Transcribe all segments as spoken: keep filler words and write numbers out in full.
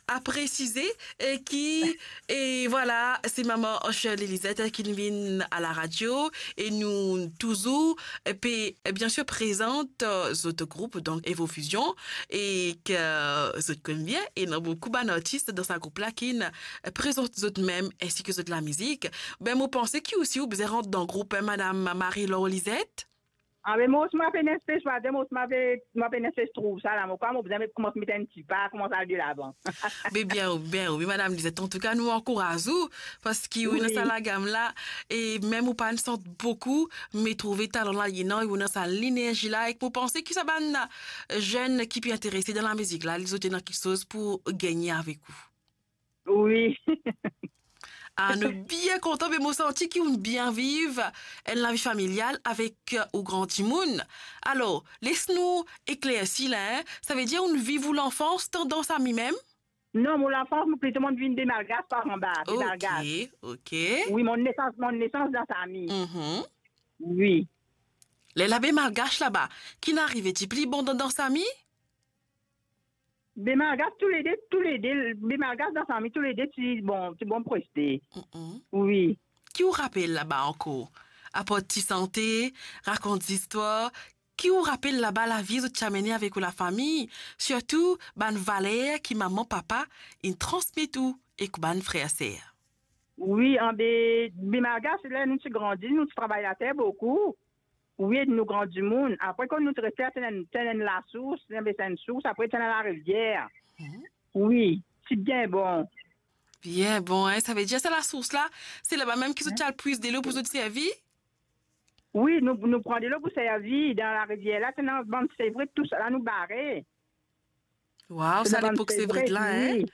a presize, e ki, e vwala, se mama Shirley Lisette ki vinn a la radio, e nou touzour, e pe, e, bien sir, prezant, e, zot group, donk Evo Fusion, e ki zot konn bien, e ena boukou bann artis dan sa group la ki, e, prezant zot mem, ensi ki zot lamizik. Be, mo panse ki osi ou bizin rant dan group, e, madam Marie-Laure Lisette. Ah, me mo osi mo pe ena enn spe, mo osi mo pe, mo pe ena enn spe trouv sa la, mo krwar mo bizin met, koumans met enn ti pa, koumans al delavan. Be bien, bien, wi, madam Lisette. Antouka, nou ankouraz ou, parski ou ena sa lagam la, e mem ou pa'nn sant boukou, me trouve talan la, li ena, ou ena sa lenerzi la, e mo panse ki sa bann zenn ki pe interese dan lamizik la, zot ena kiksoz pou gagne avek ou. Wi. Ah, nou bien kontan, me mo santi ki ou bien viv enn lavi familial avek, e, ou gran dimoun. Alor, les nou eklersi la, en. Savedir ou viv ou lanfans dan, dan Sami mem? Non, mo lanfans, mo plito mo vinn Be Malgas par anba, Be Malgas. Ok, ok. Wi, mo nesans, mo nesans dan Sami. Mhm. Wi. Lerla Be Malgas laba, ki'nn arive, ti pli bon dan, dan Sami? Be Malgas toulede, toulede, Be Malgas dan Sami toulede ti bon, ti bon preste. Mm-mm. Wi. Ki ou rapel laba ankor? Apar ti sante, rakont zistwar, ki ou rapel laba lavi zot ti amene avek ou lafami, sirtou bann valer ki mama, papa inn transmet ou ek bann frer, ser? Wi, anbe, Be Malgas, ler nou ti grandi, nou ti travay later boukou. Wi, nou gran dimoun. Apre, kan nou ti reste, ti ena enn, ti ena enn lasours, ti ena enn sours, apre ti ena larivier. Mhm. Wi, ti bien bon. Bien bon, en. Savedir sa lasours la, se laba mem ki zot ti al pwiz delo pou zot servi? Wi, nou, nou pran delo pou servi. Dan larivier la, ti ena bann sevret, tousala nou bare. Waw, sa lepok sevret la, en? Wi.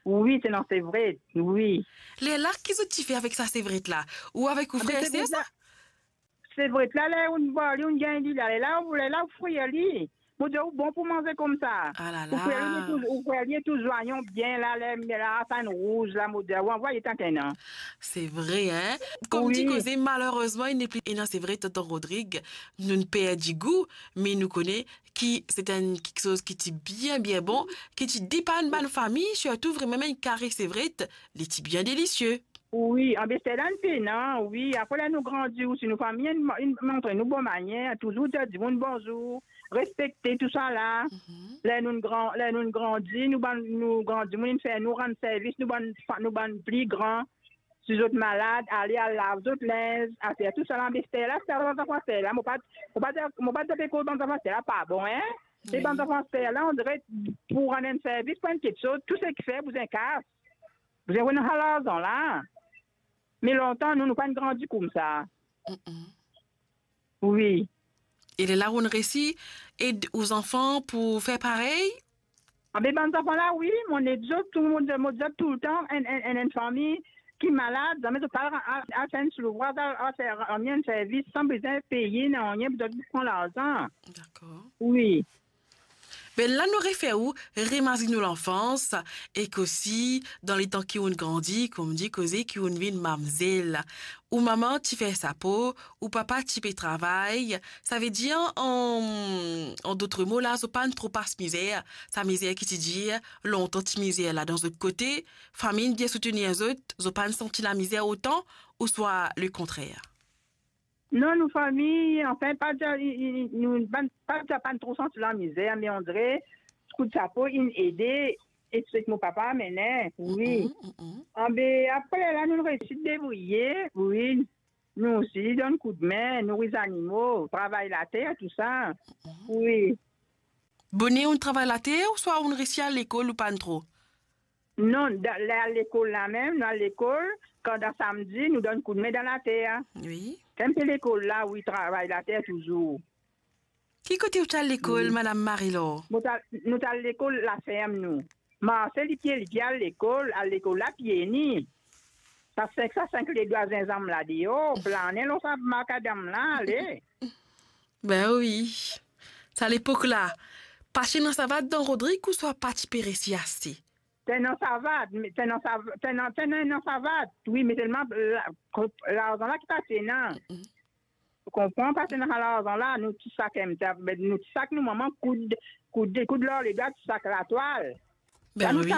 Wi, ti ena sevret, wi. Lerla, ki zot ti fer avek sa sevret la? Ou avek ou frer, ser sa? Sevret la, ler ou bar li, ou gagn li la, lerla, ou, lerla, ou frir li. Mo dir ou bon pou manze koumsa. Ah la la. Ou frir li, li tou, ou frir li tou zwayon bien la, ler, ler la, sa inn rouz la, mo dir ou, anvway tank ena. Se vre, en? Kouma dir koze, malerezman, li nepli ena sevret, tonton Rodrig, nou'nn perdi gou, me nou kone ki se enn kiksoz ki ti bien, bien bon, ki ti depann bann fami, sirtou vremem enn kare sevret, li ti bien delisie. Wi, anbe lerla inn pena, wi. Apre, ler nou grandi osi, nou fami inn, inn montre nou bon manier, touzour dir dimoun bonzour, respekte tousala. Mhm. Ler nou gran, ler nou grandi, nou bann, nou gran dimoun inn fer nou rann servis, nou bann fa-, nou bann pli gran. Si zot malad, ale al lav zot linz, aster tousala, me lerla, sa bann zanfan lerla, mo pa, mo pa dir, mo pa dir pe koz bann zanfan lerla pa bon, en? Me bann zanfan lerla, on dirait, pou rann enn servis, pou enn kiksoz, tou seki fer, bizin kas. Bizin rod sa larzan la. Me lontan, nou, nou pa'nn grandi koumsa. Mm-mm. Wi. E lerla ou'nn resi ed ou zanfan pou fer parey? Anbe bann zanfan la, wi, mo ed zot, tou, mo, mo ed zot toultan, enn, enn, enn, enn fami ki malad, zame zot pa al, al, al fer enn ti louvraz, al, al fer, rann enn servis, san bizin peye nanye, pou zot pran larzan. Dakor. Wi. Be la nou refer ou remazinn ou lanfans, ek osi dan letan ki ou'nn grandi, kouma dir koze, ki ou'nn vinn mamzel. Ou mama ti fer sapo, ou papa ti pe travay, savedir, an, an dot mo la, zot pa'nn tro pas mizer, sa mizer ki ti dir lontan ti mizer la dan zot kote, fami inn bien soutenir zot, zot pa'nn santi lamizer otan, ouswa lekontrer? Non, nou fami, anfin, pa dir, i, i, i, nou, bann, pa dir pa'nn tro santi lamizer, me on dirait, kout sapo inn ede, e seki mo papa amenn, wi. Mm, mm, mm. Anbe, apre la, nou resi debriye, wi. Nou osi donn koudme, nouri zanimo, travay later, tousa. Mm. Wi. Boner ou'nn travay later, ouswa ou'nn resi al lekol ou pa'nn tro? Non, dan, la lekol la mem, nou al lekol, kan dan samdi, nou donn koudme dan later. Wi. Kan pe lekol la, wi, travay later touzour. Ki kote ou ti al lekol, wi, madam Marie-Laure? Nou ti al, nou ti al lekol laferm, nou. Marse lipie, lipie al lekol, al lekol la pie ni. Sa sink, sa sink ledwa zinzam la deor, plane lor sa makadam la, ale. Be wi. Sa lepok la, pa ti ena savat dan Rodrig ouswa pa ti pe resi aste? Ti ena savat, me ti ena sav-, ti ena, ti ena, ena savat. Wi, me selman la, larzan la ki pa ti ena. Mm-mm. Ou konpran? Pa ti ena larzan la, nou ti sak enn, nou ti sak nou mama koud, koud, koud lor ledwa, ti sak latwal. Be wi.